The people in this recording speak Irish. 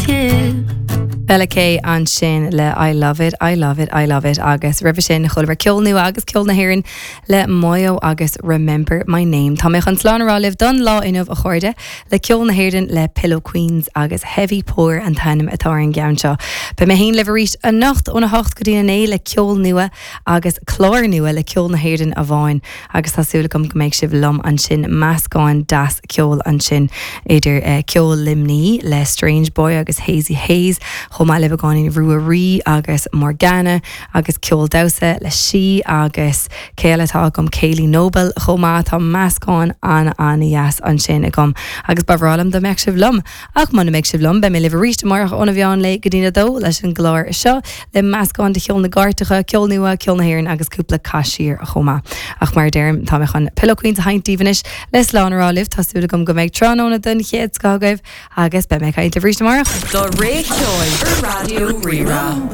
Yeah. Bella K ansin le I Love It, I Love It, I Love It agus roimhe sin chualamar ceol nua agus ceol na hÉireann le Moyo agus Remember My Name. Tá mé chun slán a rá libh don lá inniu a chairde le ceol na hÉireann le Pillow Queens agus Heavy Pour an t-ainm atá ar an gceann seo. Beidh mé féin libh arís anocht óna hocht go dtí a naoi le ceol nua agus clár nua le ceol na hÉireann amháin agus tá súil agam go mbeidh sibh liom ansin, meascán deas ceoil ansin idir ceol Luimní le Strange Boy agus Hazy Hayes, chomh maith le beagáinín Ruaidhrí agus Morgana agus ceol damhsa le Sí agus cé eile atá agam, Kayleigh Noble chomh maith, tá meascán an-an-dheas ansin agam agus ba bhreá liom dá mbeadh sibh liom. Ach muna mbeidh sibh liom, beidh mé libh arís amárach óna mheán lae go dtína dó leis an gclár seo, le meascán de cheol na gcairteacha, ceol nua, ceol na hÉireann agus cúpla caith siar chomh maith. Ach mar a deirim, tá mé chun Pillow Queens a sheinnt daoibh anois le slán a rá libh. Tá súil agam go mbeidh tráthnóna den chéad scoth agaibh agus beidh mé ag caint libh arís amárach. Do rogha ceoil ar Raidió Rí-Rá.